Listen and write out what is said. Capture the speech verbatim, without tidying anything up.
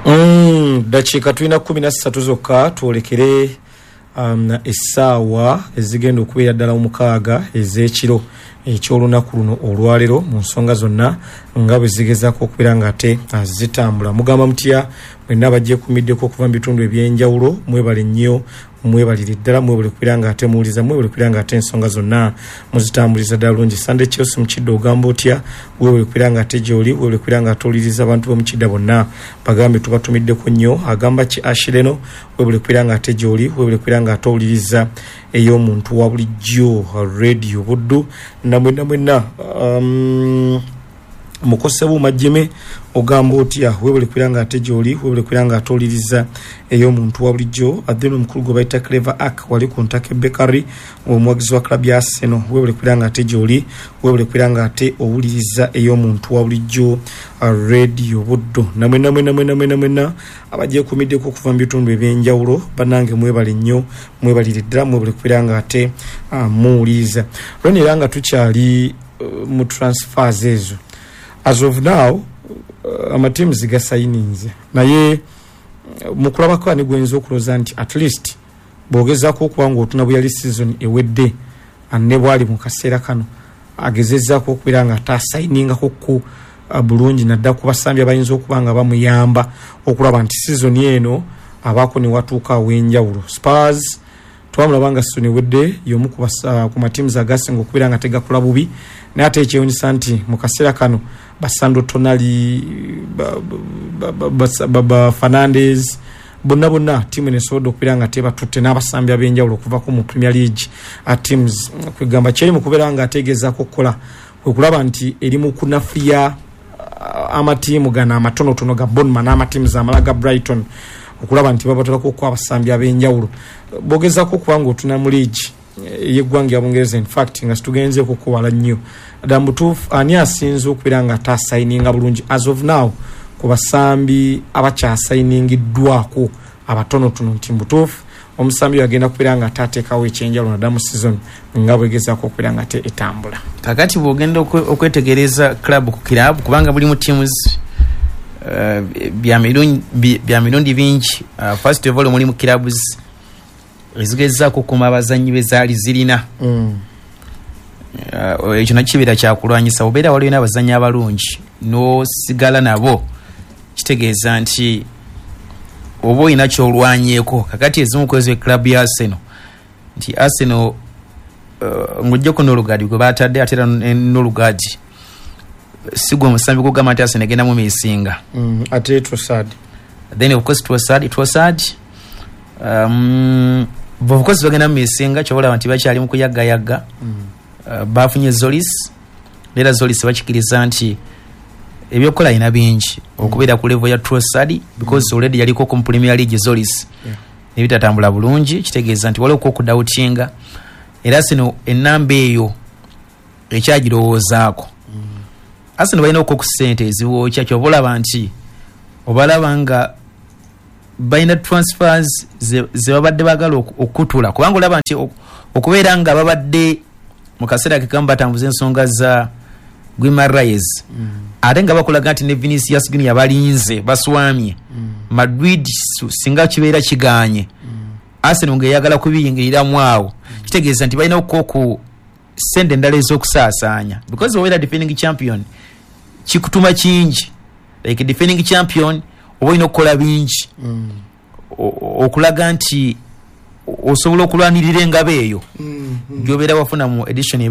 Mm, dakiika tulina kumi na ssatu zokka twolekere um, essaawa ezigenda okubeera ddala omukaaga ez'ekiro ekyolunaku luno olwaleero, mu nsonga zonna nga bwe zigezaako okubeera nga ate zitambula. Mugamba mutya mwenna abagyekumiddeko okuva mu bitundu ebyenjawulo? Mwebale nnyo, mwebalire ddala, mwebale kubeera nga ate muwuliza, mwebale kubeera nga ate ensonga zonna muzitambuliza ddala bulungi. Sunday Chelsea Mukidda, ogamba otya? Webale kubeera nga ate gyoli, webale kubeera nga ate owuliriza. Abantu b'Omukidda bonna bagambe tubatumiddeko nnyo. Agamba ki Ashireno? Webale kubeera nga ate gyoli, webale kubeera nga ate owuliriza ey'omuntu wa bulijjo Radio Buddu. Namwenna mwenna, um, Mukosebuuma Jime, ogamba otya? Webale kubeera nga ate gyoli, webale kubeera nga ate owuliriza ey'omuntu wa bulijjo. Then omukulu gwe bayita Clever Ak wali ku Ntake Bakery, omuwagizi wa club ya Arsenal, webale kubeera nga ate gyoli, webale kubeera nga ate owuliriza ey'omuntu wa bulijjo Radio Buddu. Namwenna mwenna mwenna mwenna mwenna abagyekumiddeko okuva mu bitundu ebyenjawulo, bannange mwebale nnyo, mwebalire ddala, mwebale kubeera nga ate uh, muwuliriza. Lweno era nga tukyali uh, mu transfers ezo, as of now uh, amatiimu gasayininze, naye uh, mukulabako ani gwenza okulowooza nti at least bw'ogezaako okuba nga otuna bwe yali season ewedde ne bwali mu kaseera kano agezezaako okubeera nga ate asayiningako ku uh, bulungi, naddala ku basambi abayinza okuba nga bamuyamba okulaba nti season eno abaako ne watuuka aw'enjawulo? Spurs twamulaba nga season ewedde y'omu ku ku matiimu agasinga okubeera nga tegakola bubi, naye ate ekyewunyisa nti mu kaseera kano basandro Tonali, ba Fernandes, bonna bonna tiimu nesobodde okubeera nga tebatutte n'abasambi ab'enjawulo okuvako mu Premier League teams. Kwegamba kyeri mu kubeera nga ategezaako okukola kwe kulaba nti eri mu kunafuya amatiimu gano amatonotono ga Bournemouth n'amatiimu amala ga Brighton, okulaba nti babatolako okuwa abasambi ab'enjawulo. Bogezaako okuba nga otuna mu liigi yeggwanga ya Bungereza, infact nga situgenzeeko kuwala nnyo ddala mutuufu, ani asinze okubeera nga atasayininga bulungi as of now ku basambi abakyasayiningiddwako abatonotono, nti mubutuufu omusambi oyo agenda kubeera nga atateekawo ekyenjawulo naddala mu season nga bwegezaako okubeera nga ate etambula? Kakati bwogenda okwetegereza club ku club, kubanga buli mu teams uh, bya mirundi bingi. uh, first of all, mulimu clubs ezigezaako okukuma abazanyi bezaali zirina. mm. uh, ekyo nakyo kibeera kyakulwanyisa. Obeera waliwo n'abazanyi abalungi n'osigala nabo, kitegeeza nti oba olina kyolwanyeeko. Kakati ezimu kwezo club ya Arsenal, nti Arsenal uh, ng'ojjako Norgaard gwe batadde, ate era Norgaard si gwe omusambi gugamba nti Arsenal egenda mu misinga. mm, ate Trossard. Then of course Trossard Trossard um, of course bagenda mu misinga. Kyobalaba nti bakyali mu kuyagayagga. mm. uh, bafunye Tzolis, era Tzolis bakikiriza nti ebyokukola alina bingi okubeera ku level ya Trossard, because mm. already yaliko ku Premier League Tzolis, yeah. nebitatambula bulungi. Kitegeeza nti waliwo okudawutinga, era sino enamba eyo ekyagirowoozaako. mm. Arsenal balina okwo ku ssente eziwookya. Kyoba olaba nti obalaba nga balina transfers ze babadde baagala okutula, kubanga olaba nti okubeera nga babadde mu kaseera kekamu batambuza ensonga za Guimaraes, mm. ate nga bakulaga nti ne Vinicius Junior balinze baswamye. mm. Madrid singa kibeera kiganye, mm. Arsenal ngaeyagala kubiyingiriramu awo, mm. kitegeeza nti balina okukoku sente endala ez'okusaasaanya, because obeera defending champion kikutuma kingi. Like defending champion oba olina okukola bingi mm. okulaga nti osobola okulwanirira engabo eyo mm, mm. gyobeera wafuna mu edition.